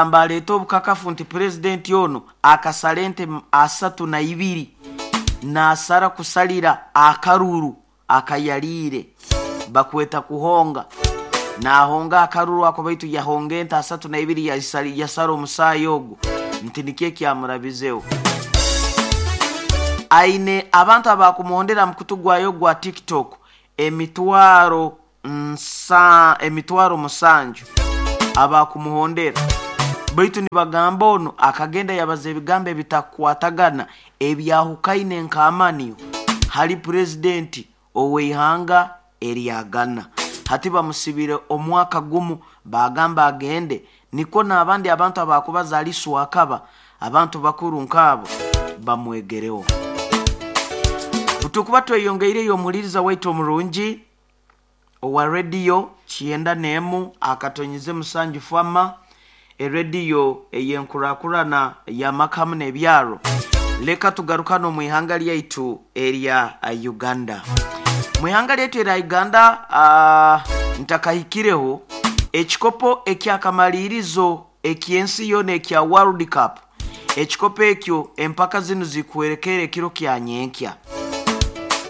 Nagamba aleete obukakafu nti Purezidenti onu akasara ente 32 nasara kusalira akaruru akayaliire bakweta kuhonga. Nahonga akaruru ako baitu yahonga ente 32 yasara omusaayi ogwo nti nikyo ekyamurabizeho. Aine abantu abakumuhondera aha mukutu gwayo gwa TikTok 700,000 abakumuhondera baitu nibagamba onu akagenda yabaza ebigambo ebitakukwatagana ebyahukaine nk'amanyo hali Purezidenti ow'eihanga erya Ghana. Hati bamusibire omwaka gumu bagamba agende nikwo n'abandi abantu abakubaza ali Swakaba abantu bakuru nk'abo bamwegereho. Tukuba tweyongeireyo omuhuliriza waitu omurungi owa rediyo 91.7 Fama, erediyo ey'enkurakurana y'amaka hamu n'ebyaro. Leka tugarukane omu ihanga lyaitu erya Uganda. Mu ihanga lyaitu erya Uganda ntakahikireho ekikopo ekyakamalirizo eky'ensi yoona ekya World Cup. Ekikopo ekyo empaka zinu zikuhwerekerra ekiro kya nyenkya.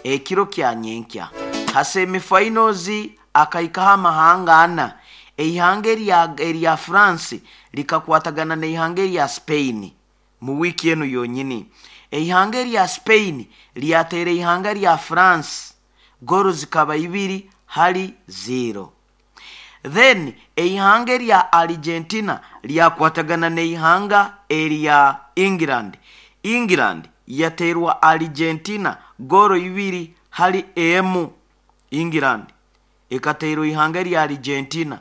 Ekiro kya nyenkya. Ha semi-finals akahikaho amahanga ana. Eihanga erya France likakwatagana n'eihanga erya Spain mu wiiki enu yonyini. Eihanga erya Spain lyateera eihanga rya France goolo zikaba 2-0. Then eihanga erya Argentina lyakwatagana n'eihanga erya England. England yateerwa Argentina goolo 2-1. England ekateerwa eihanga erya Argentina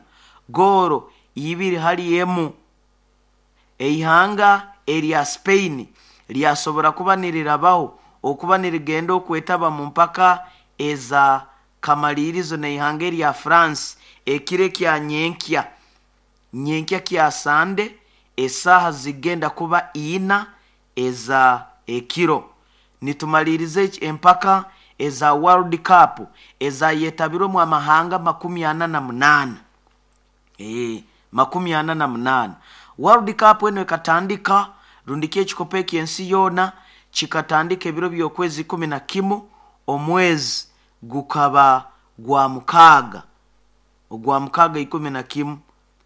goolo 2-1. Eihanga erya Spain lyasobora kuba nirirabaho okuba nirigenda okwetaba mu mpaka eza kamalirizo n'eihanga erya France ekiro ekya nyenkya. Nyenkya kya Sande esaaha zigenda kuba ina eza ekiro. Nitumaliriza empaka eza World Cup ezayetabirwemu amahanga 48. 48. World Cup enu ekatandika rundiki ekikopo eky'ensi yoona kikatandika ebiro by'okwezi 11 omwezi gukaba gwa mukaaga ogwa mukaaga 11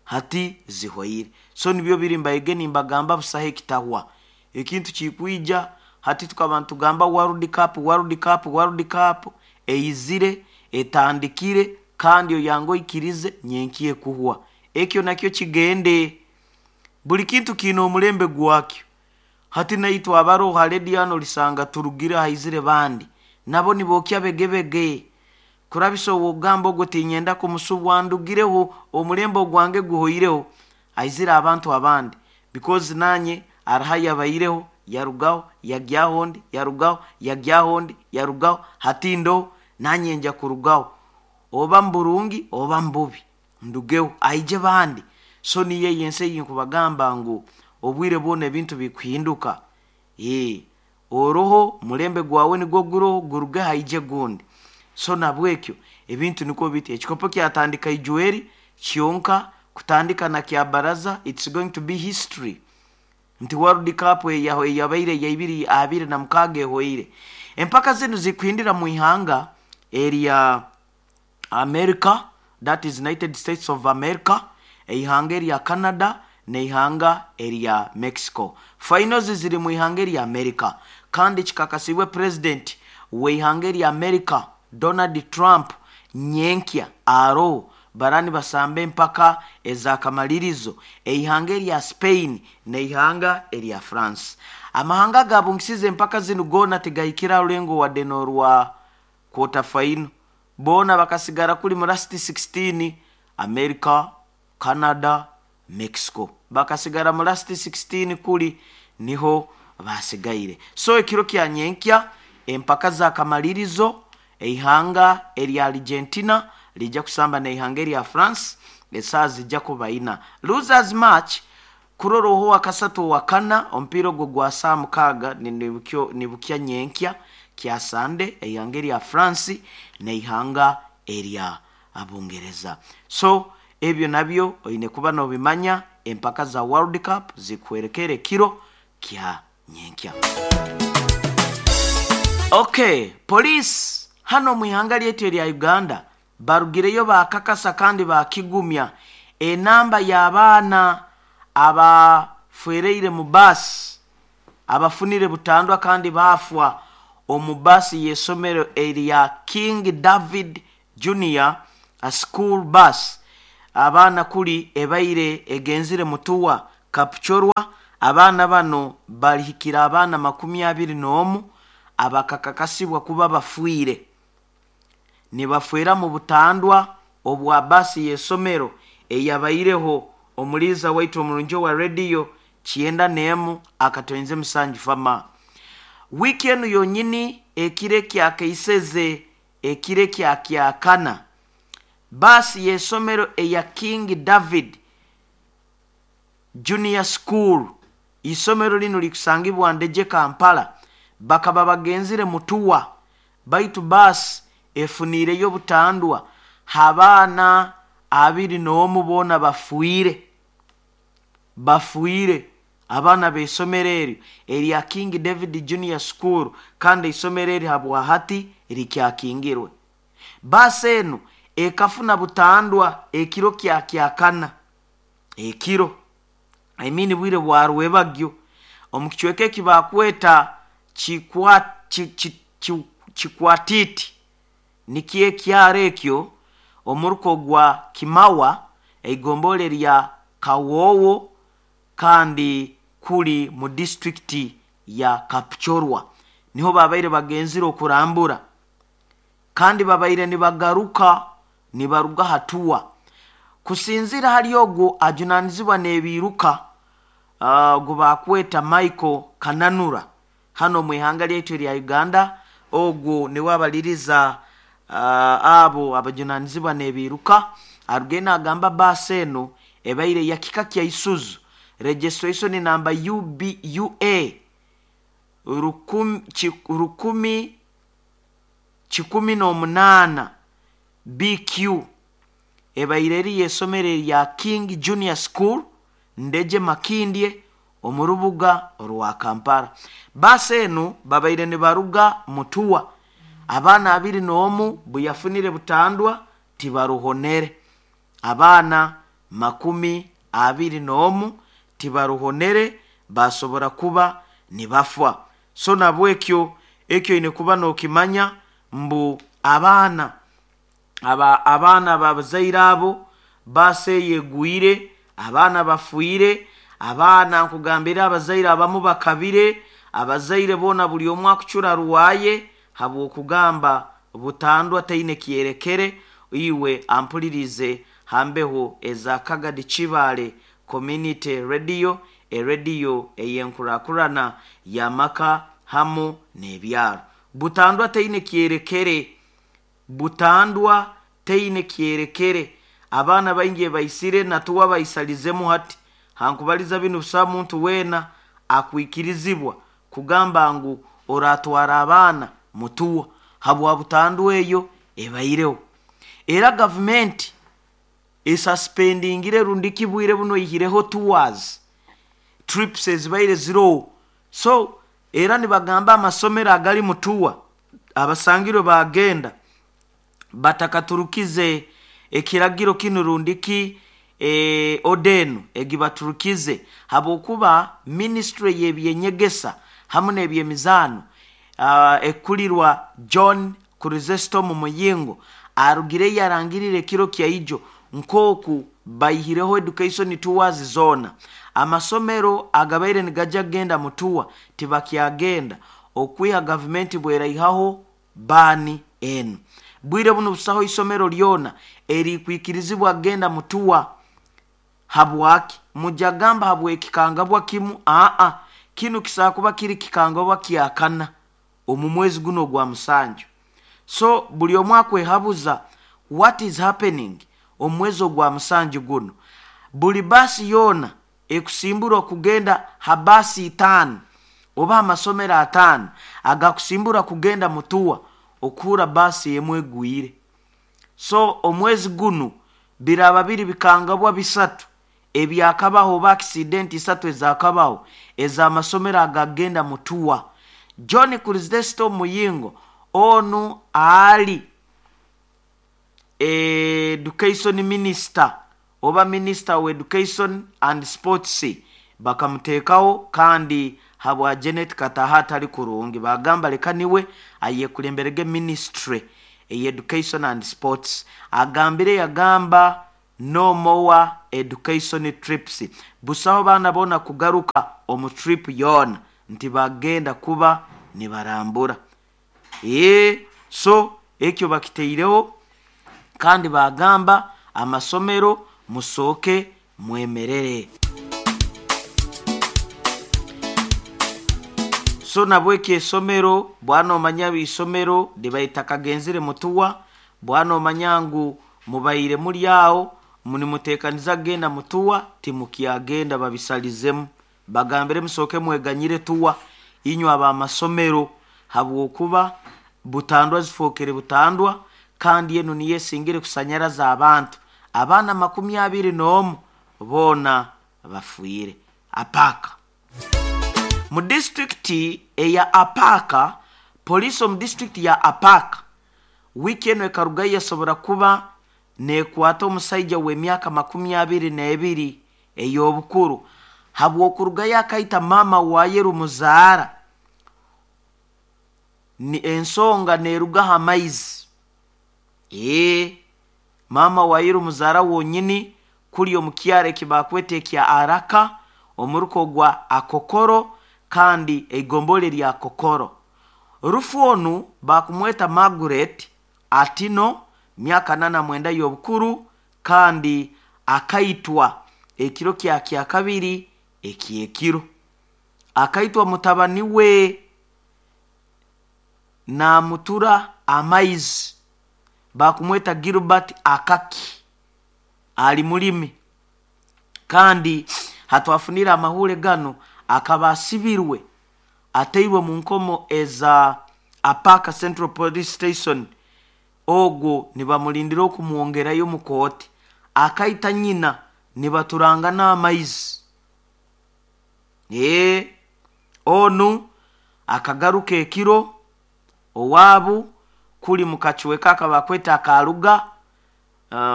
hati zihwaire. So nibyo biri mbaige nimbagamba busaho ekitahwa. Ekintu kikwija hati tukaba nitugamba World Cup, World Cup, World Cup eizire etandikire kandi oyange oikirize nyenkya ekuhwa. Ekyo nakyo kigende. Buli kintu kiine omulembe gwakyo. Hati naitwe abaroho ha rediyo hanu olisanga turugire haizire bandi nabo nibookya begebege. Kurabisa ow'okugamba ogwo tinyenda kumusubwa ndugireho omulembe ogwange guhoireho aizire abantu abandi because nanye hariho ayabaireho yarugaho yagyaho ondi yarugaho yagyaho ondi yarugaho hati ndoho nanye nja kurugaho oba muburungi oba mububi ndugeho aije bandi. So niyo eyo ensi eyinkubagamba ngu obwire bwona ebintu bikuhinduka. Oroho omulembe gwawe nigwo guroho guruge haije gundi. So nabwekyo ebintu nikwo biti. Ekikopo kyatandika ijweri kyonka kutandika na kya baraza it's going to be history. Nti World Cup eyabaire ya 2026 ehoire. Empaka zinu zikuhindira mu ihanga erya America, that is United States of America, eihanga erya Canada n'eihanga erya Mexico. Finals ziri mu ihanga erya America kandi kikakasibwe President w'eihanga erya America Donald Trump nyenkya aroho bara nibasamba empaka ez'akamalirizo eihanga erya Spain n'eihanga erya France. Amahanga agabungisize empaka zinu goona tigahikire aha rulengo wadde n'orwa quarter final. Boona bakasigara kuri mu last 16 America, Canada, Mexico. Bakasigara mu last 16 kuri niho basigaire. So ekiro kya nyenkya empaka z'akamalirizo eihanga erya Argentina lijja kusamba n'eihanga erya France esaaha zijja kuba ina. Losers match kurora oho owakasatu owakana omupiira ogwo gwa saaha mukaaga nibukya nyenkya kya Sande eihanga erya France n'eihanga erya Bungereza. So ebyo nabyo oine kuba nobimanya. Empaka za World Cup zikuhwerekera ekiro kya nyenkya. Okay, poliisi hano omu ihanga lyaitu erya Uganda barugireyo bakakasa kandi bakigumya enamba y'abaana abafwereire mu baasi, abafunire butandwa kandi baafwa omu baasi y'esomero erya King David Junior School Bus. Abaana kuli ebaire egenzire Mutuwa Kapchorwa. Abaana bano balihikira abaana 21 abakakakasibwa kuba bafiire, nibafeera mu butandwa obwa baasi y'esomero eyabaireho. Omuliiza waitu omurungi owa rediyo 91.7 fama wiiki enu yonyini, ekiro ekyakaiseze ekiro ekyakyakana, baasi y'esomero eya King David Junior School, isomero linu likusangibwa Ndeje, Kampala, bakaba bagenzire Mutuwa, baitu baasi efuniireyo butandwa, abaana 21 boona bafiire. Bafiire abaana b'esomero eryo erya King David Junior School, kandi isomero eri habwa hati likyakingirwe. Baasi enu ekafuna butandwa ekiro kyakyakana, ekiro, I mean bwire bwa rwebagyo, omu kicweka eki bakweta Kikwatiti, nikyo ekyaro ekyo omuruko gwa Kimawa, eigombolola erya Kawoowo, kandi kuli mu disitulikiti ya Kapchorwa. Niho babaire bagenzire okurambura, kandi babaire nibagaruka nibaruga hatuwa. Kusinzira hali ogwo ajunanizibwa n'ebiiruka, ogu bakweta Michael Kananura, hano omu ihanga lyaitu erya Uganda, ogwo niwe abaliriza abo abajunanizibwa n'ebiiruka, arugire nagamba baasi eno ebaire ya kika kya Isuzu, registration number UBUA 1118 BQ, ebaire eri y'esomero erya King Junior School, Ndeje Makindye, omu rubuga orwa Kampala. Baasi enu babaire nibaruga Mutuwa, abaana 21 buyafunire butandwa tibaruhonere. Abaana 21 tibaruhonere, basobora kuba nibafa. So nabwekyo ekyo oine kuba nokimanya mbu abaana aba abaana babazaire abo, baasi eyo egwire, abaana bafiire. Abaana nkugambire, abazaire abamu bakabire, abazaire boona buli omu akucura rwaye habw'okugamba butandwa taine kyerekere. Iwe ampulirize hambeho eza Kagadi Kibaale Community Radio, erediyo ey'enkurakurana y'amaka hamu n'ebyaro. Butandwa taine kyerekere, butandwa taine kyerekere. Abaana baingi ebaisire natuwa baisalizemu. Hati hankubaliza binu, busaho muntu weena akwikirizibwa kugamba ngu oratwara abaana Mutuwa habwa butandwa eyo ebaireho. Era gavumenti esuspendingire rundiki bwire buno oihireho tours, trips ezibaire ziroho. So era nibagamba amasomero agali Mutuwa abasangirwe bagenda batakaturukize ekiragiro kinu rundiki odenu egibaturukize, habwokuba ministry y'ebyenyegesa hamu n'ebyemizaano ekulirwa John Chrysostom Muyingo arugire yarangirire ekiro kyaijo nk'oku baihireho education tours zoona. Amasomero agabaire nigajya kugenda Mutuwa tibakyagenda okwiha gavumenti bweraihaho baani enu. Bwire buno busaho isomero lyona erikwikirizibwa kugenda Mutuwa. Habwaki mujagamba habwekikangabwa kimu? Aa, kinu kisaa kuba kiri kikangabwa kyakana omu mwezi guno ogwa musanju. So buli omu akwehabuza what is happening omu mwezi ogwa musanju guno. Buli baasi yoona ekusimburwa kugenda ha baasi 5 oba amasomero 5 agakusimbura kugenda Mutuwa, okuhura baasi emu egwire. So omwezi gunu biraba biri bikangabwa bisatu. Ebyakabaho oba accident isatu ezakabaho ez'amasomero agagenda mutuwa. John Chrysostom Muyingo onu ali Education Minister oba Minister wa Education and Sports bakamuteekaho, kandi habwa Janet Kataha atali kurungi bagamba leka niwe ayekulemberege ministry ey Education and Sports. Agambire yagamba no more education trips, busaho baana boona kugaruka omu trip yoona nti bagenda kuba nibarambura. So ekyo bakiteireho, kandi bagamba amasomero musooke mwemerere. So nabwekyo esomero bwana omanya isomero libaita kagenzire mutuwa, bwana omanya ngu mubaire muri aho munimutekaniza kugenda mutuwa, timukyagenda, babisalizemu bagambire musooke mweganyire tuwa inywe abamasomero, habwokuba butandwa zifokere butandwa, kandi enu niyo esingire kusanyaraza abantu. Abaana 21 boona bafiire Apaaka. Mu disitulikiti eya Apaaka, poliisi omu disitulikiti ya Apaaka wiiki enu ekarugayo yasobora kuba nekwata omusaija w'emyaka 22 ey'obukuru habw'okurugayo akaita maama waye rumuzaara. Ni ensonga neerugaho amaizi. Maama waye rumuzaara wonyini kuli omu kyaro eki bakweta ekya Araka omuruko gwa Akokoro kandi eigombole lya Kokoro. Rufu onu bakumweta Margaret Atino, myaka 49 y'obukuru, kandi akaitwa ekiro kya kyakabiri ekyekiro. Akaitwa mutabani we namutura amaizi, bakumweta Gilbert Akaki, ali mulimi, kandi hatwafunire amahure gano akaba asibirwe ateirwe mu nkomo eza Apaaka Central Police Station, ogwo nibamulindira okumwongerayo mu kooti. Akaita nyina nibaturanga n'amaizi. Onu akagaruka ekiro owaabu kuli mu kacweka akabakweta akaruga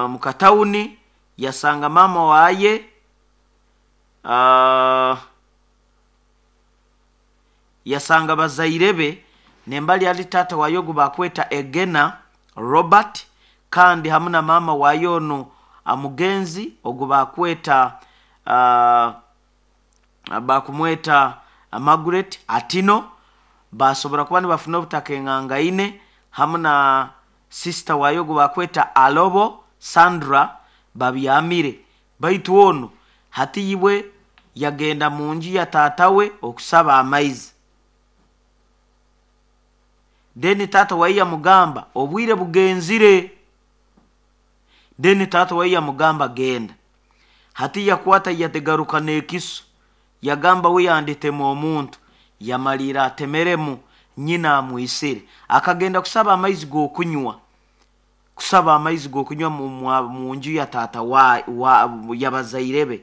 mu katawuni, yasanga maama waye yasanga bazaire be nembali ali taata waye ogu bakweta Egena Robert, kandi hamu na maama waye onu amugenzi ogu bakweta bakumweta Margaret Atino. Basobora kuba nibafuna obutaka engangaine hamu na sister waye ogu bakweta Alobo Sandra babyamire. Baitu onu hati iwe yagenda mu nju ya taata we okusaba amaizi. Then taata waye yamugamba obwire bugenzire. Then taata waye yamugamba genda. Hati yakwata yategaruka n'ekiso, yagamba we yanditema omuntu, yamalira atemeremu nyina amwisire. Akagenda kusaba amaizi g'okunywa, kusaba amaizi g'okunywa mu nju ya taata yabazaire be.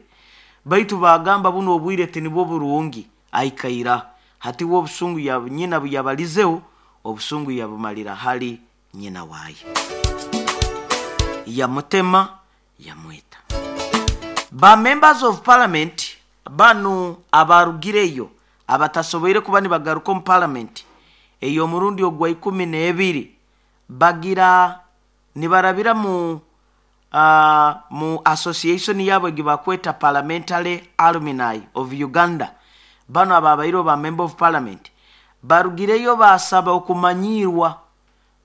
Baitu bagamba buno obwire tinibwo burungi, aikaira. Hati we obusungu ya nyina buyabalizeho, obusungu yabumalira hali nyina waye, yamutema yamwita. Ba members of parliament banu abarugireyo abatasoboire kuba nibagaruka omu parliament ey'omurundi ogwa 12 bagira nibarabira mu association yabo egibakweta Parliamentary Alumni of Uganda. Bano ababaire ba member of parliament barugireyo basaba okumanyirwa,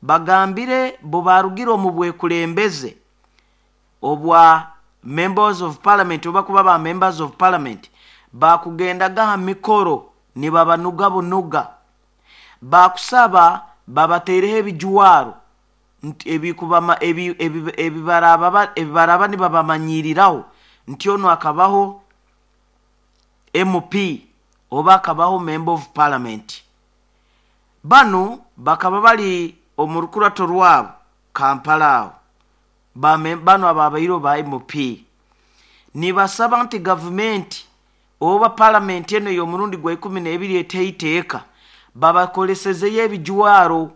bagambire bo barugire omu bwekulembeze obwa members of parliament oba kuba ba members of parliament bakugendaga ha mikoro nibabanuga bunuga, bakusaba babateereho ebijwaro ebibaraba nibabamanyiriraho nti ono akabaho MP oba akabaho member of parliament. Bano bakaba bali omu rukurato rwabo Kampala aho, bano ababaire ba MP. Nibasaba nti gavumenti oba palamenti eno ey'omurundi gwa 12 eteho iteeka, babakolesezeyo ebijwaro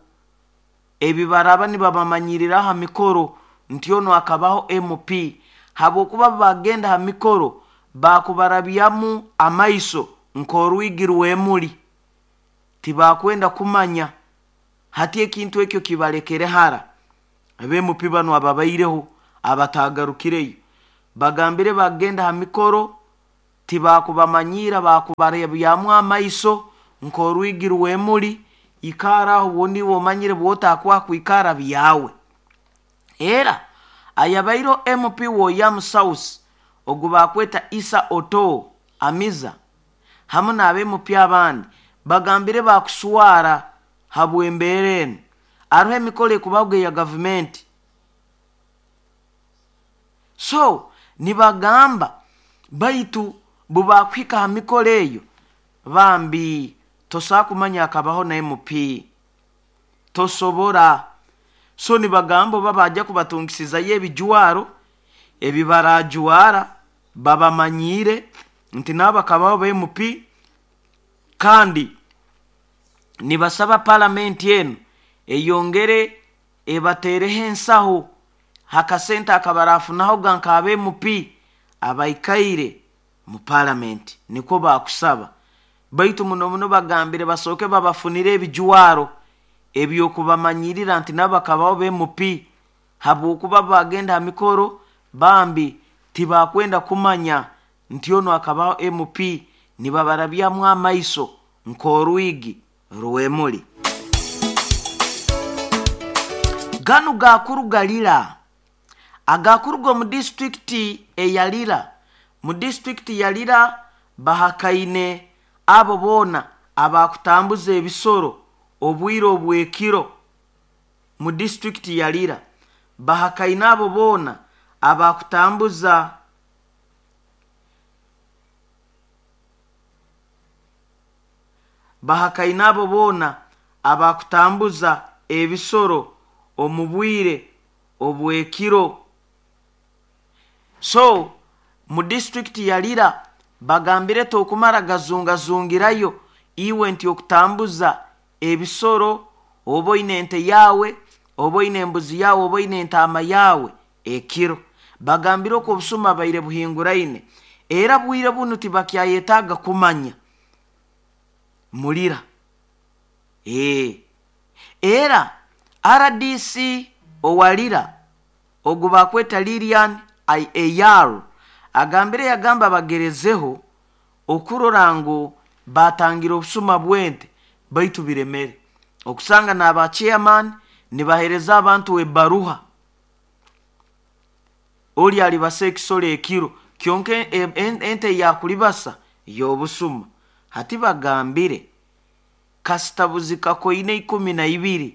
ebibaraba nibabamanyirira ha mikoro nti ono akabaho MP, habwokuba bagenda ha mikoro bakubarabyamu amaiso nk'orwigi rw'emuli, tibakwenda kumanya. Hati ekintu ekyo kibalekere hara. Ab'MP banu ababaireho abatagarukireyo bagambire bagenda ha mikoro tibakubamanyiira, bakubarabyamu amaiso nk'orwigi rw'emuli. Ikara aho bundi omanyire bwotakwaha kwikara byawe. Era ayabaireho MP w'Oyamu South ogu bakweta Issa Otoo Amiza hamu n'ab'MP abandi bagambire bakuswara habw'embeera enu. Aroho emikoro ekubaho eya gavumenti, so nibagamba baitu bubakuhika ha mikoro eyo bambi tosobola kumanya akabaho na MP, tosobora. So nibagamba oba bajja kubatungisizayo ebijwaro ebibarajwara babamanyiire nti nabo bakabaho ba MP. Kandi nibasaba palamenti enu eyongere ebateereho ensaho hakasente akabarafunahoga nk'aba MP abaikaire mu palamenti, nikwo bakusaba. Baitu muno muno bagambire basooke babafunire ebijwaro ebyokubamanyirira nti nabo bakabaho ba MP, habwokuba bagenda ha mikoro bambi tibakwenda kumanya nti ono akabaho MP, nibabarabyamu amaiso nk'orwigi rw'emuli. Ganu gakuruga Lira, agakuruga omu disitulikiti eya Lira. Mu disitulikiti ya Lira bahakaine abo boona abakutambuza ebisoro obwire obw'ekiro. Mu disitulikiti ya Lira bahakaine abo boona abakutambuza bahakaine abo boona abakutambuza ebisoro omu bwire obw'ekiro. So mu disitulikiti ya Lira bagambire tokumara gazungazungirayo iwe nti okutambuza ebisoro, oba oine ente yawe, oba oine embuzi yawe, oba oine entaama yawe ekiro. Bagambire oku obusuma baire buhinguraine, era bwire bunu tibakyayetaaga kumanya mulira. Era RDC owalira ogu bakweta Lilian Eyar agambire yagamba bagerezeho okurora ngu batangira obusuma bw'ente baitu biremere. Okusanga n'aba chairman nibahereza abantu ebaruha, oli alibasa ekisoro ekiro kyonka ente yakulibasa y'obusuma. Hati bagambire kasitabuzi kakoine 12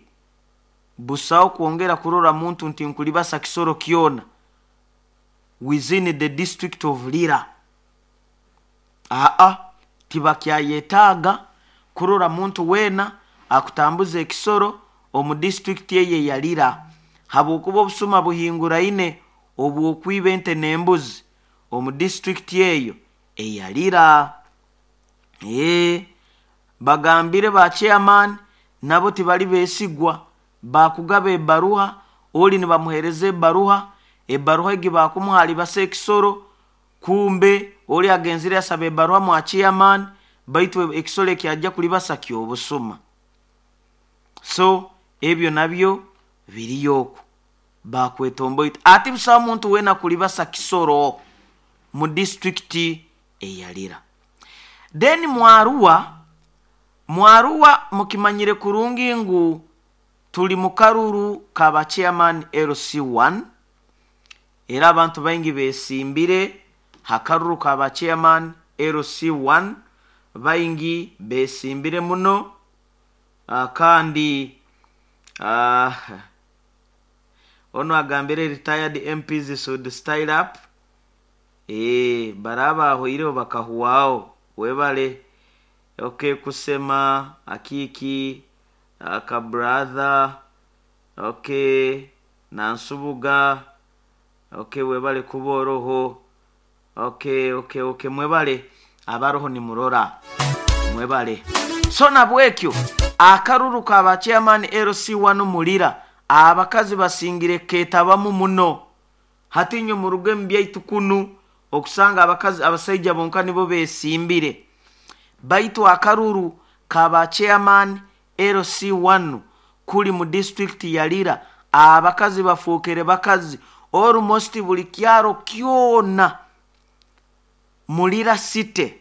busaho kwongera kurora muntu nti nkulibasa kisoro kyona within the district of Lira. Aa tibakyayetaaga kurora muntu weena akutambuza ekisoro omu disitulikiti eyo eya Lira, habwokuba obusuma buhinguraine obw'okwiba ente n'embuzi omu disitulikiti eyo eya Lira. Bagambire ba chairman nabo tibali besigwa, bakugaba ebaruha, oli nibamuhereza ebaruha, ebaruha egi bakumuha alibasa ekisoro, kumbe oli agenzire asaba ebaruha mwa chairman, baitu ekisoro ekyajja kulibasa ky'obusuma. So ebyo nabyo biriyo oku bakwetomboita ati busaho muntu weena kulibasa kisoro mu disitulikiti eya Lira. Then Mwaruwa mukimanyire kurungi ngu tuli mu karuru kaba chairman LC1, era abantu baingi besimbire ha karuru kaba chairman LC1, baingi besimbire muno. Kandi ono agambire retired MPs should style up. Baraba ahoireho bakahuwaho webale. Okay, kusema akiki aka brother, okay, nansubuga, okay, webale kuboroho. Okay, mwebale abaroho nimurora, mwebale. So nabwekyo akaruru ka chairman LC1 mulira abakazi basingire ketabamu muno. Hati inywe muruge mu byaitu kunu okusanga abakazi abasaija bonka nibo besimbire, baitu akaruru kaba chairman LC1 kuli mu district ya Lira abakazi bafuukire bakazi almost buli kyaro kyona mulira city.